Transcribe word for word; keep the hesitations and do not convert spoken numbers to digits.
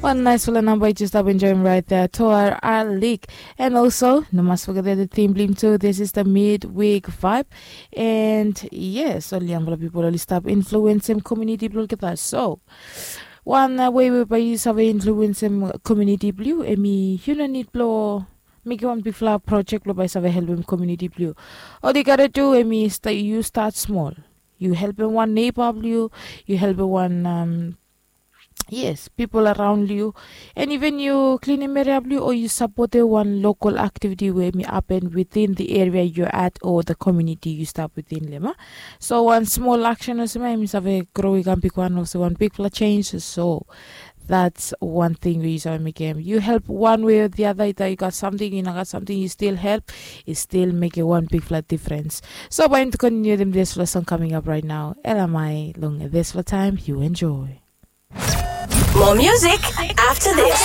Wan naisfala namba yu jes stap enjoim rait ya, Toar Alik. And also no mas fogetem the theme blong him tu, this is the midweek vibe. And yes, ol yangfala pipol oli stap influensim komuniti blong olgeta. So wan wei we bae yu save influensim komuniti blong yu, em i yu no nid blong mekim wan bigfala projek blong bae save helpim komuniti blong yu. Ol yu gata du em i yu stat smol. Yu helpim wan neiba blong yu, yu helpim wan yes, pipol araon long yu. And even yu klinim eria blong yu o yu sapotem wan lokal aktiviti we em i hapen within the area yu at o the komuniti yu stap within long em. So wan smol aksen olsem ya em i save gro i kam bigwan olsem wan bigfala jenj. So that's wan ting we yu save mekem. Yu help wan wei o the other, ita yu gat samting, yu no gat samting, yu stil help. I stil mekem wan bigfala difrens. So bae yumi kontiniutim disfala song kaming ap rait nao, elamai long disfala taem. Yu enjoy. More music after this.